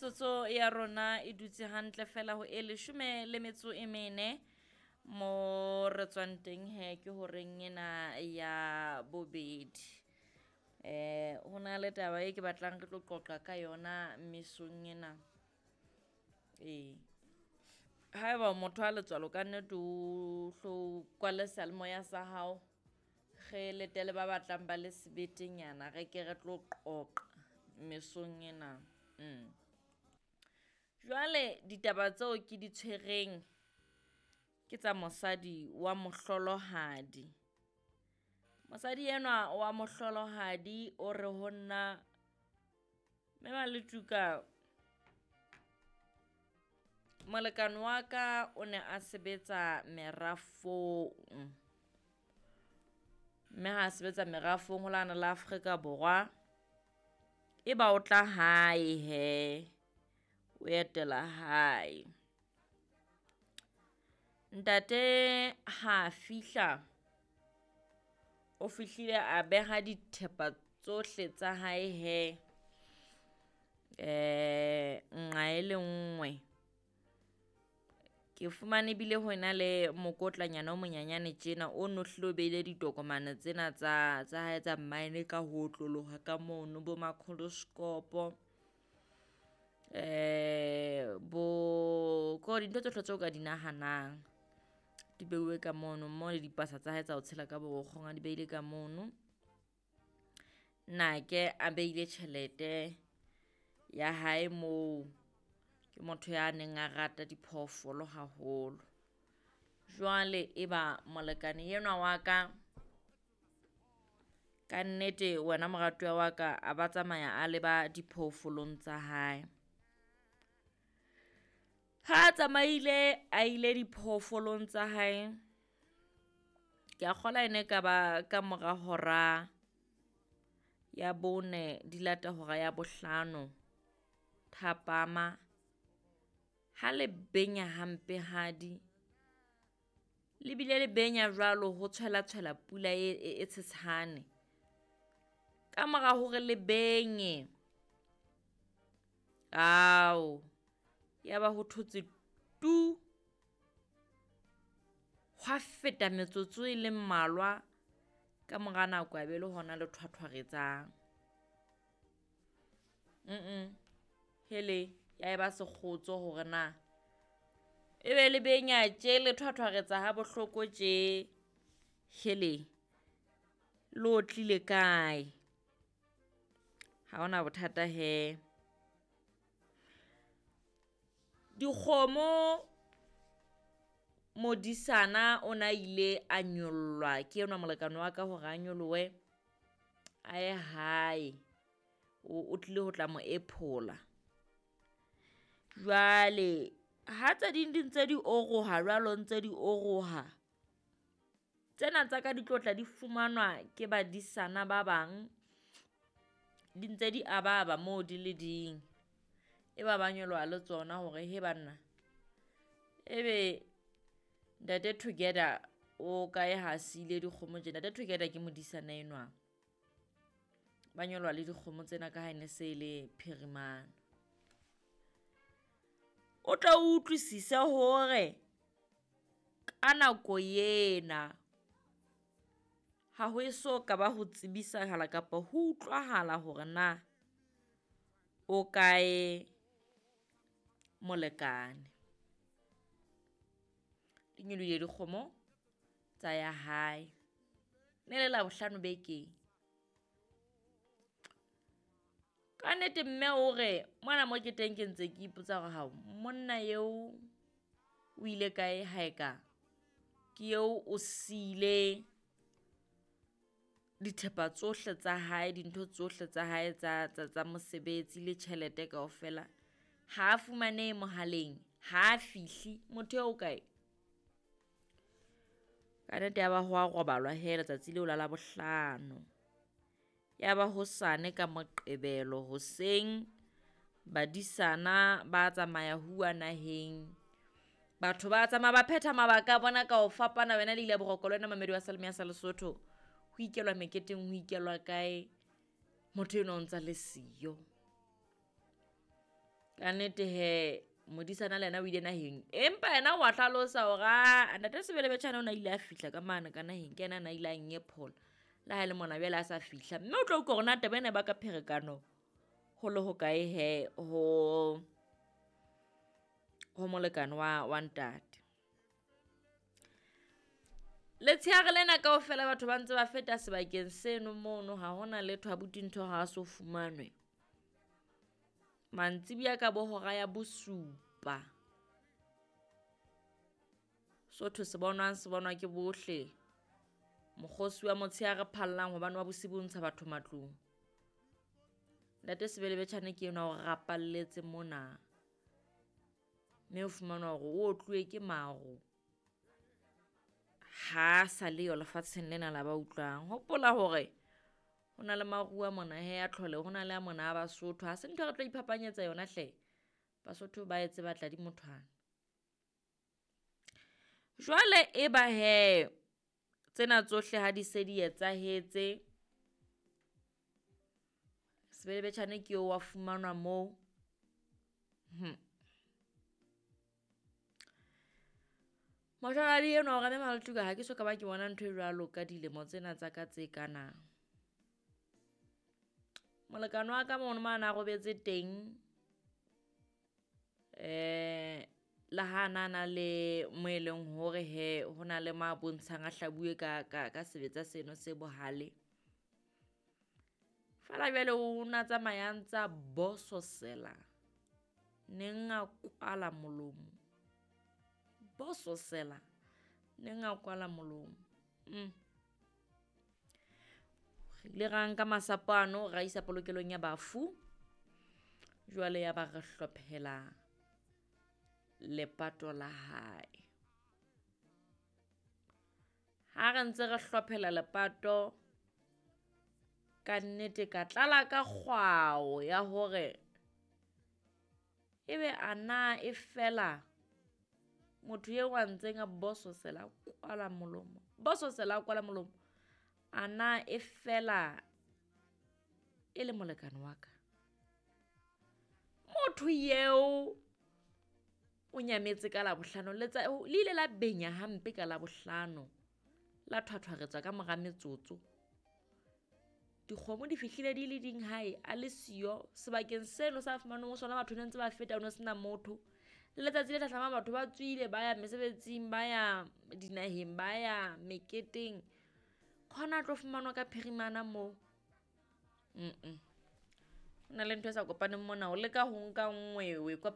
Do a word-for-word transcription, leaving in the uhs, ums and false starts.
Metsotso ya rona e dutse hantle fela ho e leshome le metso e mene. Mo re tswang teng he ke horeng ena ya bobedi. Eh ho na le taba e ke batlang re tlo qoqa ka yona mesong ena. Ee, haeba o motho a letswalo kannete o hlo kwale seyalemoya sa hao, re letele ba batlang ba le sebetenyana re ke re tlo qoqa mesong ena. Jwale ditaba tseo ke di tshwereng ke tsa mosadi wa mohlolohadi. Mosadi enwa wa mohlolohadi o re ho nna, mme Maletuka molekane wa ka o ne a sebetsa merafong, mme ha sebetsa merafong ho lane la Afrika Borwa. E ba o tla hae hee, o etela hae. Ntate ha fihla, o fihlile a beha dithepa tsohle tsa hae hee nqa e le nngwe. Ke fumane ebile ho na le mokotlanyana o monyenyane tjena o no hlile o beile ditokomane tsena tsa tsa hae tsa mine ka ho otloloha ka mono bo makholoskopo, bo kore dintho tsohle tseo ka di nahanang. Di beuwe ka mono mmoho le dipasa tsa hae tsa ho tshela ka borokgong a di beile ka mono. Nnake a beile tjhelete ya hae moo, ke motho ya neng a rata diphoofolo haholo. Jwale eba molekane enwa wa ka, kannete wena moratuwa wa ka a ba tsamaya a leba diphoofolong tsa hae. Ha tsamaile a ile diphoofolong tsa hae, ke a kgolwa ene e ka ba ka mora hora ya bone di lata hora ya bohlano thapama. Ha le benya hampehadi, le bile le benya jwalo ho tshwela tshwela pula e e tshesane. Ka mora hore le benye, ao ya ba ho thotse tu! Hwa feta metsotso e le mmalwa, ka mora nako ya be le hona le thwathwaretsang. Mm hele, ya eba sekgotso hore na ebe le benya tje le thwathwaretsa ha bohloko tje? Hele, le otlile kae? Ha hona bothata hee. Dikgomo modisana o na ile a nyollwa ke enwa molekane wa ka hore a nyolohe a ye hae, o tlile ho tla mo ephola. Jwale ha tse ding di ntse di oroha jwalo ntse di oroha, tsena tsa ka di tlo tla di fumanwa ke badisana ba bang, di ntse di ababa moo di le ding. E ba ba nyoloha le tsona hore hee banna, ebe ntate Together o kae ha siile dikgomo tje? Ntate Together ke modisana enwa. Ba nyoloha le dikgomo tsena ka ha e ne se le phirimana. O tlo utlwisise hore ka nako ena ha ho eso ka ba ho tsebisahala kapa ho utlwahala hore na o kae molekane. Di nyolohile dikgomo tsa ya hae, ne le Labohlano bekeng. Kannete mme o re mona mo ke teng ke ntse ke ipotsa hore hao monna eo o ile kae ha eka ke eo o siile dithepa tsohle tsa hae, dintho tsohle tsa hae tsa tsa tsa mosebetsi le tjhelete kaofela. Ha a fumanehe mohaleng, ha fihle, motho eo o kae? Kannete ya ba ho a robalwa hee letsatsi leo la Labohlano. Ya ba hosane ka Moqebelo hoseng, badisana ba tsamaya huwa naheng. Batho ba tsamaya ba phetha mabaka a bona ka ho fapana, wena le ile boroko le wena momamedi wa Seyalemoya sa Lesotho. Ho ikelwa meketeng, ho ikelwa kae, motho enwa o ntsa le siyo. Ka nnete he modisana le yena o ile naheng, empa yena wa hlalosa hore aa ntate Sebelebetjhane o na ile a fihla ka mane ka naheng, ke yena a na ile a nyephola. Le ha e le mona jwale a sa fihla, mme o tlo utlwa hore na taba ena e baka pherekano ho le hokae he ho, ho molekane wa, wa ntate. Letsheare lena kaofela batho ba ntse ba feta sebakeng seno mono, ha hona letho abuti ntho ha so fumanwe. Mantsibuya ka bo hora ya bosupa, sotho se bonwang se bonwa ke bohle. Mokgosi wa motshehare phallang hobane wa bosibu o ntsha batho matlung. Ntate Sebelebetjhane ke enwa o rapalletse mona, mme o fumanwa hore o otluwe ke maro. Ha sa leyo lefatsheng lena la ba utlwang. Hopola hore ho na le maruo a mona he a tlholeho, ho na le a mona a Basotho. Ha se ntho e re tlo iphapanyetsa yona hle, Basotho ba e tseba tladi mothwana. Jwale e ba hee tsena tsohle ha di se di etsahetse, Sebelebetjhane ke eo wa fumanwa moo. Hmm. Moshweladi enwa o re mme Maltuka ha ke so ka ba ke bona ntho e jwalo ka dilemo tsena tsa ka tse kana. Molekane wa ka mono mo a na robetse teng, eh le ha na na le mo e leng hore he ho na le ma bontshang a hlabuwe ka, ka, ka sebetsa seno se bohale. Feela jwale o na tsamaya a ntsa bososela, neng a kwala molomo. Bososela, neng a kwala molomo. Mm. Re ile ra nka masapo ano ra isa polokelong ya bafu. Jwale ya ba re hlophela lepato la hae. Ha re ntse re hlophela lepato, ka nnete ka tlala ka kgwao ya hore ebe a na e fela motho eo a ntseng a bososela a kwala molomo, bososela a kwala molomo, a na e fela e le molekane wa ka. Motho eo o nyametse ka Labohlano, letsa le ile la benya hampe ka Labohlano, la thwathwaretswa ka mora metsotso. Dikgomo di fihlile di le ding hae, a le siyo sebakeng seno sa fumanweng ho sona, batho ne ntse ba feta, ho no sena motho. Le letsatsi le hlahlamang batho ba tswile ba ya mesebetsing, ba ya dinaheng, ba ya meketeng. Khona a tlo fumanwa ka phirimana moo. Mm-mm. Ho na le ntho e sa kopaneng mona, o leka ho nka nngwe o e